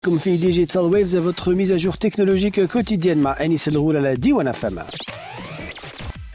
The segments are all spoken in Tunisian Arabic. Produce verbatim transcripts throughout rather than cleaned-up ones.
في Digital Waves، votre mise à jour technologique quotidienne مع انيس الغول على ديوان اف ام.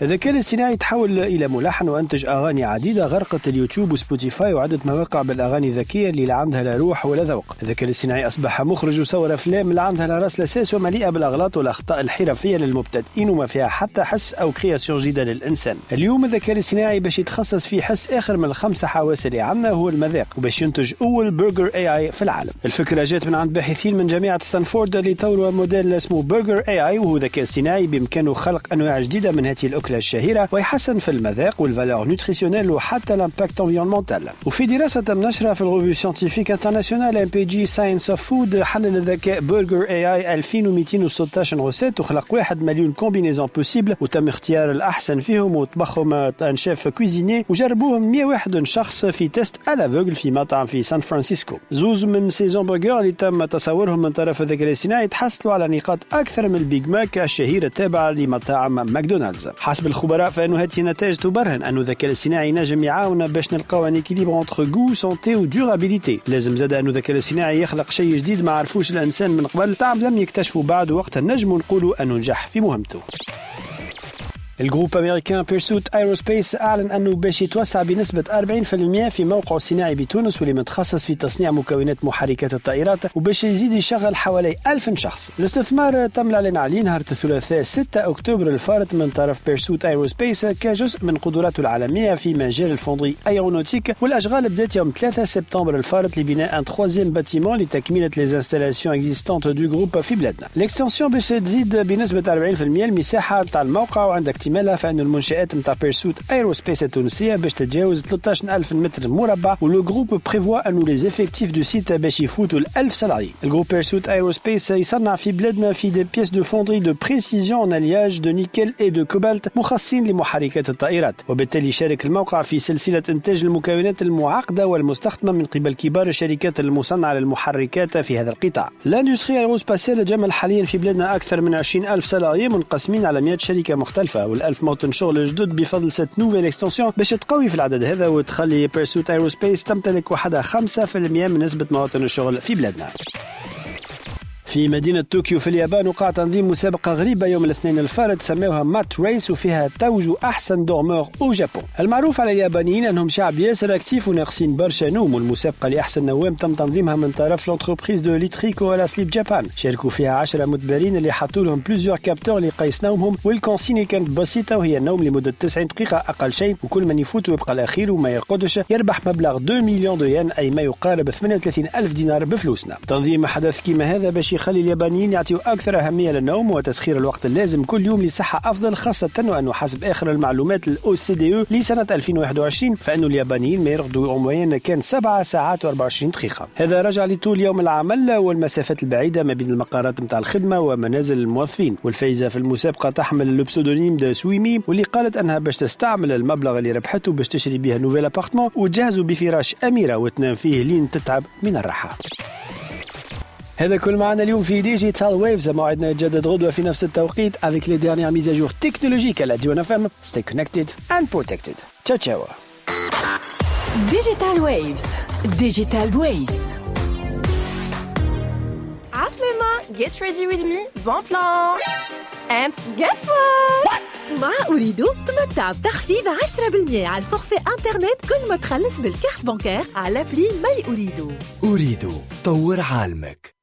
الذكاء الاصطناعي تحول إلى ملحن وأنتج أغاني عديدة غرقت اليوتيوب وسبوتيفاي وعدة مواقع بالأغاني الذكية اللي لا عندها لا روح ولا ذوق. الذكاء الاصطناعي أصبح مخرج وصور أفلام لا عندها لا راس لا ساس ومليئة بالأغلاط والأخطاء الحرفية للمبتدئين وما فيها حتى حس أو création جديدة للإنسان. اليوم الذكاء الاصطناعي باش يتخصص في حس آخر من الخمسة حواس اللي عندنا، هو المذاق، وباش ينتج أول برجر AI في العالم. الفكرة جات من عند باحثين من جامعة ستانفورد اللي طوروا موديل اسمه Burger AI، وهو ذكاء اصطناعي بإمكانه خلق أنواع جديدة من هذه الأكلة الشهيرة ويحسن في المذاق وال valeur nutritionnelle وحتى l'impact environnemental. وفي دراسة تم نشرها في ال revue scientifique internationale MPJ Science of Food، حلل الذكاء Burger AI ألفين ومئتين وستة عشر recette وخلق واحد مليون combinaisons possibles، وتم اختيار الاحسن فيهم وطبخهم un chef cuisinier وجربوهم مية وواحد شخص في test à l'aveugle في مطعم في سان فرانسيسكو. زوز من ces hamburgers اللي تم تصورهم من طرف الذكاء الاصطناعي تحصلوا على نقاط اكثر من البيج ماك الشهير التابع لمطاعم ماكدونالدز. حسب الخبراء فإن هذه النتائج تبرهن أن الذكاء الاصطناعي نجم يعاون باش نلقاو un équilibre entre goût، santé و durabilité. لازم زاد أن الذكاء الاصطناعي يخلق شيء جديد ما عرفوش الإنسان من قبل، طعم لم يكتشفوا بعد، وقتها نجم نقولوا أنه نجح في مهمته. ال groupe américain Pursuit Aerospace اعلن انه باش يتوسع بنسبة أربعين في المية في موقعه الصناعي بتونس، واللي متخصص في تصنيع مكونات محركات الطائرات، وباش يزيد يشغل حوالي ألف شخص. الاستثمار تم الاعلان عليه نهار الثلاثاء ستة اكتوبر الفارط من طرف Pursuit Aerospace كجزء من قدراته العالمية في مجال ال fonderie aéronautique، والاشغال بدات يوم ثلاثة سبتمبر الفارط لبناء un troisième bâtiment لتكملة les installations existantes du groupe في بلادنا. l'extension باش تزيد بنسبة أربعين في المية المساحة تاع الموقع، وعند اكتمالها فان المنشآت نتاع Pursuit Aerospace التونسية باش تتجاوز ثلاثة عشر ألف متر مربع، و le groupe prévoit انه les effectifs du site باش يفوتوا ال ألف salariés. ال groupe Pursuit Aerospace يصنع في بلادنا في des pièces de fonderie de précision en alliage de nickel et de cobalt مخصصين لمحركات الطائرات، وبالتالي يشارك الموقع في سلسلة انتاج المكونات المعقدة والمستخدمه من قبل كبار الشركات المصنعة للمحركات في هذا القطاع. l'industrie aérospatiale تجمل حاليا في بلادنا اكثر من عشرين ألف salariés منقسمين على مئة شركة مختلفه، والألف موطن شغل جدد بفضل cette nouvelle extension باش تقوي في العدد هذا وتخلي Pursuit Aerospace تمتلك وحدها خمسة في المية من نسبة مواطن الشغل في بلادنا. في مدينة طوكيو في اليابان وقع تنظيم مسابقة غريبة يوم الاثنين الفارط سموها Mat Race، وفيها توجوا أحسن dormeur au Japon. المعروف على اليابانيين أنهم شعب ياسر actif وناقصين برشا نوم، والمسابقة لأحسن نوام تم تنظيمها من طرف l'entreprise de literie Koala Sleep Japan. شاركوا فيها عشرة متبارين اللي حطوا لهم plusieurs capteurs لقيس نومهم، وال consigne كانت بسيطة وهي النوم لمدة تسعين دقيقة أقل شيء، وكل من يفوت ويبقى الأخير وما يرقدش يربح مبلغ اثنين millions de yens، أي ما يقارب ثمانية وثلاثين ألف دينار بفلوسنا. تنظيم حدث كما هذا باش يخلي اليابانيين يعطيوا أكثر أهمية للنوم وتسخير الوقت اللازم كل يوم لصحة أفضل، خاصة وأنه حسب آخر المعلومات ال OCDE لسنة ألفين وواحد وعشرين فإن اليابانيين ما يرقدوا en moyenne كان سبعة ساعات وأربعة وعشرين دقيقة. هذا رجع لطول يوم العمل والمسافات البعيدة ما بين المقرات متاع الخدمة ومنازل الموظفين. والفايزة في المسابقة تحمل le pseudonyme de سويمي، واللي قالت أنها باش تستعمل المبلغ اللي ربحته باش تشري بها nouvel appartement وتجهزوا بفراش أميرة وتنام فيه لين تتعب من الراحة. هذا كل معنا اليوم في Digital Waves. موعدنا يتجدد غدوة في نفس التوقيت avec les dernières mises à jour technologiques على ديوان اف ام. Stay connected and protected. Ciao ciao. Digital Waves، Digital Waves. عسلامة، get ready with me، bon plan and guess what؟ مع أوريدو تمتع بتخفيض عشرة في المية على ال forfait internet كل ما تخلص بال carte bancaire على l'appli My أوريدو. أوريدو، طور عالمك.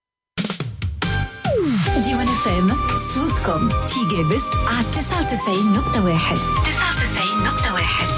ديوان اف ام، صوتكم في قابس على تسعة وتسعين نقطة واحد، تسعة وتسعين نقطة واحد.